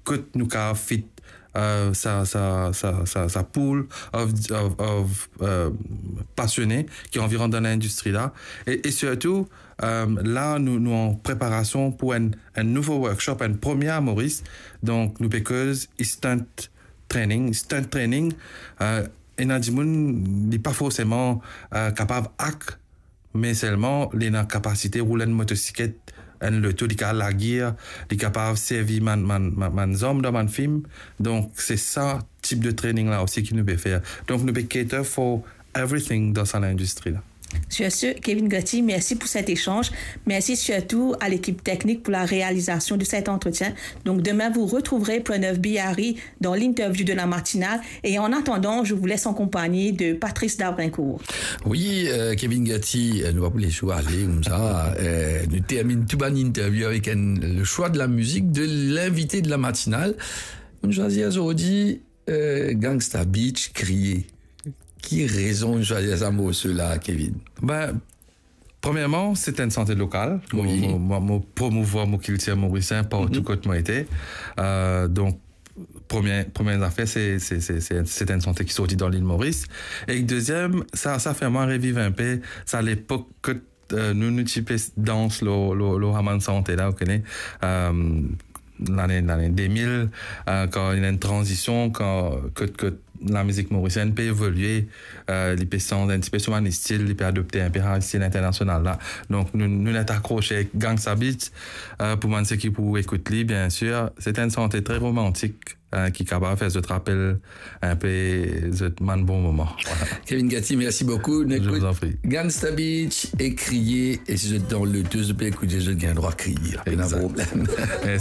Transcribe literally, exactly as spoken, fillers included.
kot nou kapav fit, euh, sa, sa, sa, sa, sa pool of, of, of, euh, pasione ki anvi rant dan lindistri la. E, e sirtou, euh, la, nou, nou an preparasion pou enn, enn nouvo workshop, enn premie a Moris. Donk, nou pe koz stunt training. Stunt training, euh, ena dimoun, li pa forseman, euh, kapav ak, me selman li ena kapasite roul enn motosiklet, enn loto, li kapav lagir, li kapav servi bann, bann, bann, bann zam dan bann fim. Donk, se sa tip de training la osi ki nou pe fer. Donk, nou pe cater for everything dan sa lindistri la. Sur ce, Kevin Gatti, merci pour cet échange. Merci surtout à l'équipe technique pour la réalisation de cet entretien. Donc demain, vous retrouverez Pranav Bihari dans l'interview de la matinale. Et en attendant, je vous laisse en compagnie de Patrice Dabrincourt. Wi, euh, Kevin Gatti, euh, nou pa pou les jou ale koumsa. Euh, nou terminn tou bann interview avek enn, le choix de la musique de l'invité de la matinale. Nou swazir zordi, euh, Gangsta Beach, Kriye. Ki rezon ou swazir sa morso la, Kevin? Ben, premierman, se enn sante lokal. Mo, wi, mo, mo, mo promouvwar mo kiltir morisien partou, mhm, kot mo ete. Euh, donk, premie, premie zafer, se, se, se, se, se enn sante ki sorti dan Lil Moris. E deziem, sa, sa fer mwa reviv enpe sa lepok kot, euh, nou, nou ti pe dans lor, lor, lor sa bann sante la, ou kone, euh, lane, lane de mil, euh, kan ena enn tranzision, kan, kot, kot lamizik morisienn pe evolie, euh, li pe sanz enn tipe so bann stil, li pe adopte enpe sa stil internasional la. Donk, nou, nou net akrose Gangsta Beach, euh, pou bann seki pou ekout li, biensir. Se enn sante tre romantik, euh, ki kapav fer zot rapel enpe zot bann bon moman. Voilà. Kevin Gatti, merci beaucoup. Je vous en prie. Gangsta Beach e Kriye, e si zot dan loto, zot pe ekoute, zot gagn drwa kriye. Pena problem. Exact.